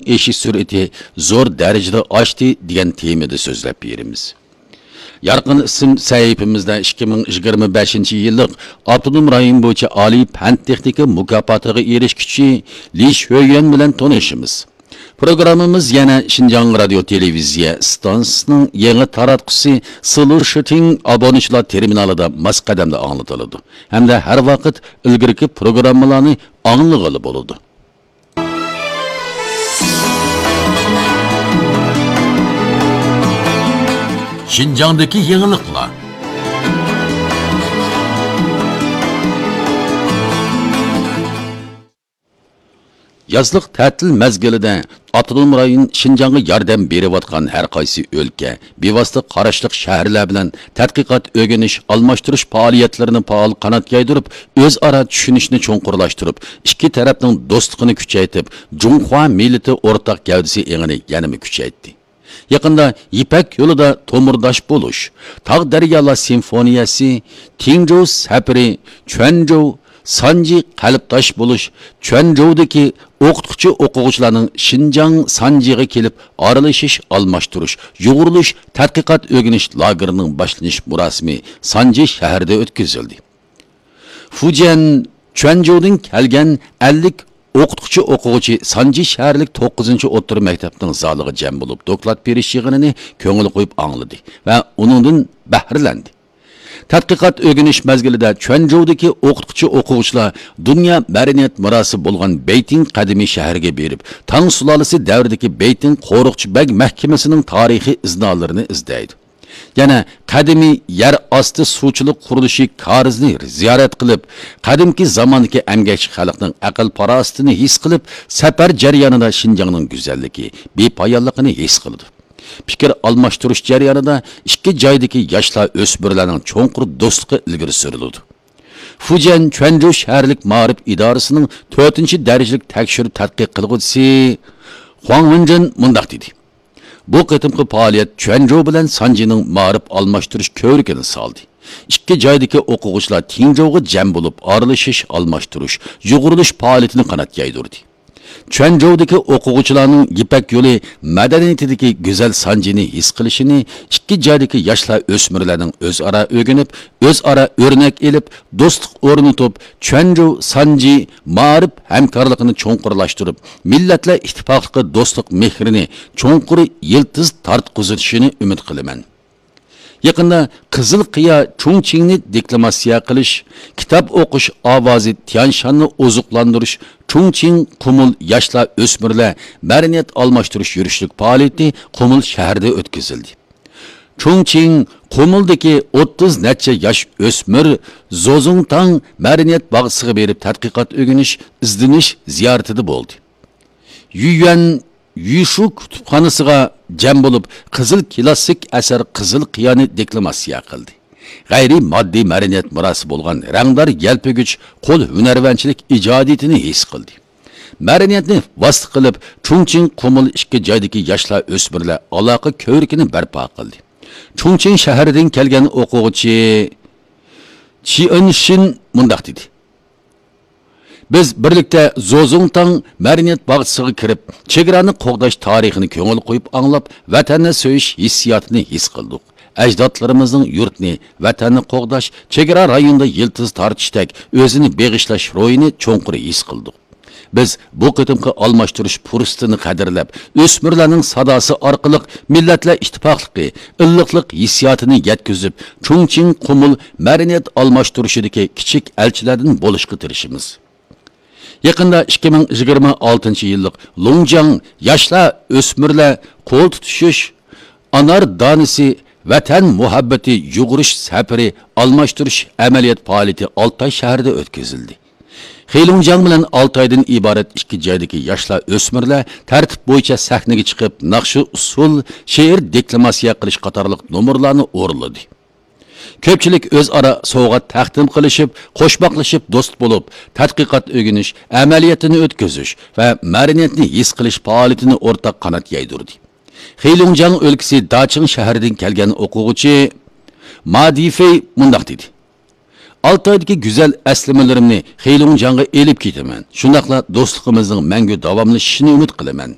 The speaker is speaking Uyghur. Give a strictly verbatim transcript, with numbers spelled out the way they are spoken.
ئېشىش سۈرئىتى زور دەرىجىدە ئاشتى دېگەن تېمىدا سۆزلەپ بېرىمىز. يارقىن ئىسىم سەھىپىمىزدە ئىككى مىڭ يىگىرمە بەشىنچى يىللىق ئاپتونوم رايون بويىچە ئالىي پەن تېخنىكا مۇكاپاتىغا ئېرىشكۈچى لى شۆيۈەن بىلەن تونۇشىمىز. پروگراممىمىز يەنە شىنجاڭ رادىيو تېلېۋىزىيە ئىستانسىسىنىڭ يېڭى تاراتقۇسى سلۇشىتىڭ ئابۇنىچىلار تېرمىنالىدا ماس قەدەمدە ئاڭلىتىلىدۇ ھەمدە ھەر ۋاقىت ئىلگىرىكى پروگراممىلارنى ئاڭلىغىلى بولىدۇ. شىنجاڭدىكى يېڭىلىقلار. يازلىق تەتىل مەزگىلىدە ئاپتونوم رايون شىنجاڭغا ياردەم بېرىۋاتقان ھەر قايسى ئۆلكە، بىۋاسىتە قاراشلىق شەھەرلەر بىلەن تەتقىقات، ئۆگىنىش، ئالماشتۇرۇش پائالىيەتلىرىنى پائال قانات يايدۇرۇپ، ئۆزئارا چۈشىنىشنى چوڭقۇرلاشتۇرۇپ، ئىككى تەرەپنىڭ دوستلۇقىنى كۈچەيتىپ، جۇڭخۇا مىللىتى ئورتاق گەۋدىسى ئېڭىنى يەنىمۇ كۈچەيتتى. يېقىندا يىپەك يولىدا تومۇرداش بولۇش، تاغ دەريالار سىمفونىيەسى، تىڭجوۋ سەپىرى، چۈەنجوۋ سانجى قەلبداش بولۇش، چۈەنجوۋدىكى ئوقۇتقۇچى ئوقۇغۇچىلارنىڭ شىنجاڭ سانجىغا كېلىپ ئارىلىشىش، ئالماشتۇرۇش، يۇغۇرۇلۇش، تەتقىقات ئۆگىنىش لاگېرىنىڭ باشلىنىش مۇراسىمى سانجى شەھىرىدە ئۆتكۈزۈلدى. فۇجيەن، چۈەنجوۋدىن كەلگەن ئەللىك ئوقۇتقۇچى ئوقۇغۇچى سانجى شەھەرلىك توققۇزىنچى ئوتتۇرا مەكتەپنىڭ زالىغا جەم بولۇپ، دوكلات بېرىش يىغىنىنى كۆڭۈل قويۇپ ئاڭلىدى ۋە ئۇنىڭدىن بەھرىلەندى. تەتقىقات ئۆگىنىش مەزگىلىدە چۈەنجوۋدىكى ئوقۇتقۇچى ئوقۇغۇچىلار دۇنيا مەدەنىيەت مىراسى بولغان بېيتىڭ قەدىمىي شەھىرىگە بېرىپ، تاڭ سۇلالىسى دەۋرىدىكى بېيتىڭ قورۇقچى بەگ مەھكىمىسىنىڭ تارىخىي ئىزنالىرىنى ئىزدەيدۇ. يەنە قەدىمىي يەر ئاستى سۇچىلىق قۇرۇلۇشى كارىزىنى زىيارەت قىلىپ، قەدىمكى زاماندىكى ئەمگەكچى خەلقنىڭ ئەقىل-پاراسىتىنى ھېس قىلىپ، سەپەر جەريانىدا شىنجاڭنىڭ گۈزەللىكى، بىپايانلىقىنى ھېس قىلىدۇ. پىكىر ئالماشتۇرۇش جەريانىدا ئىككى جايدىكى ياشلار، ئۆسمۈرلەرنىڭ چوڭقۇر دوستلۇقى ئىلگىرى سۈرۈلىدۇ. فۇجيەن چۈەنجۇ شەھەرلىك مائارىپ ئىدارىسىنىڭ تۆتىنچى دەرىجىلىك تەكشۈرۈپ تەتقىق قىلغۇچىسى خۇاڭ ۋېنجېن مۇنداق دېدى: بۇ قېتىمقى پائالىيەت چۈەنجۇ بىلەن سانجىنىڭ مائارىپ ئالماشتۇرۇش كۆۋرۈكىنى سالدى. ئىككى جايدىكى ئوقۇغۇچىلار تىڭجوۋغا جەم بولۇپ، ئارىلىشىش، ئالماشتۇرۇش، يۇغۇرۇلۇش پائالىيىتىنى قانات يايدۇردى. چۈەنجوۋدىكى ئوقۇغۇچىلارنىڭ يىپەك يولى مەدەنىيىتىدىكى گۈزەل سانجىنى ھېس قىلىشىنى، ئىككى جايدىكى ياشلار، ئۆسمۈرلەرنىڭ ئۆزئارا ئۆگىنىپ، ئۆزئارا ئۆرنەك ئېلىپ، دوستلۇق ئورنىتىپ، چۈەنجۇ سانجى مائارىپ ھەمكارلىقىنى چوڭقۇرلاشتۇرۇپ، مىللەتلەر ئىتتىپاقلىقى دوستلۇق مېھرىنى چوڭقۇر يىلتىز تارتقۇزۇشىنى ئۈمىد قىلىمەن. يېقىندا قىزىل قىيا چۇڭچىڭنى دېكلاماتسىيە قىلىش، كىتاب ئوقۇش ئاۋازى تيانشاننى ئوزۇقلاندۇرۇش، چۇڭچىڭ قۇمۇل ياشلار، ئۆسمۈرلەر مەدەنىيەت ئالماشتۇرۇش يۈرۈشلۈك پائالىيىتى قۇمۇل شەھىرىدە ئۆتكۈزۈلدى. چۇڭچىڭ قۇمۇلدىكى ئوتتۇز نەچچە ياش ئۆسمۈر زوزۇڭتاڭ مەدەنىيەت باغچىسىغا بېرىپ تەتقىقات، ئۆگىنىش، ئىزدىنىش زىيارىتىدە بولدى. يۈيۈەن يۈشۈ كۇتۇپخانىسىغا جەم بولۇپ، قىزىل كىلاسسىك ئەسەر قىزىل قىيانى دېكلاماتسىيە قىلدى. غەيرىي ماددىي مەدەنىيەت مىراسى بولغان رەڭدار يەلپۈگۈچ قول ھۈنەرۋەنچىلىك ئىجادىيىتىنى ھېس قىلدى. مەدەنىيەتنى ۋاسىتە قىلىپ، چۇڭچىڭ قۇمۇل ئىككى جايدىكى ياشلار، ئۆسمۈرلەر ئالاقە كۆۋرۈكىنى بەرپا قىلدى. چۇڭچىڭ شەھىرىدىن كەلگەن ئوقۇغۇچى چىئېنشىن مۇنداق دېدى: بىز بىرلىكتە زوزۇڭتاڭ مەدەنىيەت باغچىسىغا كىرىپ، چېگرانى قوغداش تارىخىنى كۆڭۈل قويۇپ ئاڭلاپ، ۋەتەننى سۆيۈش ھېسسىياتىنى ھېس قىلدۇق. ئەجدادلىرىمىزنىڭ يۇرتنى، ۋەتەننى قوغداش، چېگرا رايونىدا يىلتىز تارتىشتەك ئۆزىنى بېغىشلاش روھىنى چوڭقۇر ھېس قىلدۇق. بىز بۇ قېتىمقى ئالماشتۇرۇش پۇرسىتىنى قەدىرلەپ، ئۆسمۈرلەرنىڭ ساداسى ئارقىلىق مىللەتلەر ئىتتىپاقلىقى، ئىللىقلىق ھېسسىياتىنى يەتكۈزۈپ، چۇڭچىڭ قۇمۇل مەدەنىيەت ئالماشتۇرۇشىدىكى كىچىك ئەلچىلەردىن بولۇشقا تىرىشىمىز. يېقىندا ئىككى مىڭ يىگىرمە ئالتىنچى يىللىق لۇڭجياڭ ياشلار، ئۆسمۈرلەر قول تۇتۇشۇش، ئانار دانىسى، ۋەتەن مۇھەببىتى يۇغۇرۇش سەپىرى ئالماشتۇرۇش ئەمەلىيەت پائالىيىتى ئالتاي شەھىرىدە ئۆتكۈزۈلدى. خېلۇڭجياڭ بىلەن ئالتايدىن ئىبارەت ئىككى جايدىكى ياشلار، ئۆسمۈرلەر تەرتىپ بويىچە سەھنىگە چىقىپ، ناخشا، ئۇسسۇل، شېئىر دېكلاماتسىيە قىلىش قاتارلىق نومۇرلارنى ئورۇنلىدى. كۆپچىلىك ئۆزئارا سوۋغات تەقدىم قىلىشىپ، قوشماقلىشىپ دوست بولۇپ، تەتقىقات، ئۆگىنىش، ئەمەلىيەتنى ئۆتكۈزۈش ۋە مەدەنىيەتنى ھېس قىلىش پائالىيىتىنى ئورتاق قانات يايدۇردى. خېلۇڭجياڭ ئۆلكىسى داچىڭ شەھىرىدىن كەلگەن ئوقۇغۇچى ما دىفېي مۇنداق دېدى: ئالتايدىكى گۈزەل ئەسلىمىلىرىمنى خېلۇڭجياڭغا ئېلىپ كېتىمەن، شۇنداقلا دوستلۇقىمىزنىڭ مەڭگۈ داۋاملىشىشىنى ئۈمىد قىلىمەن.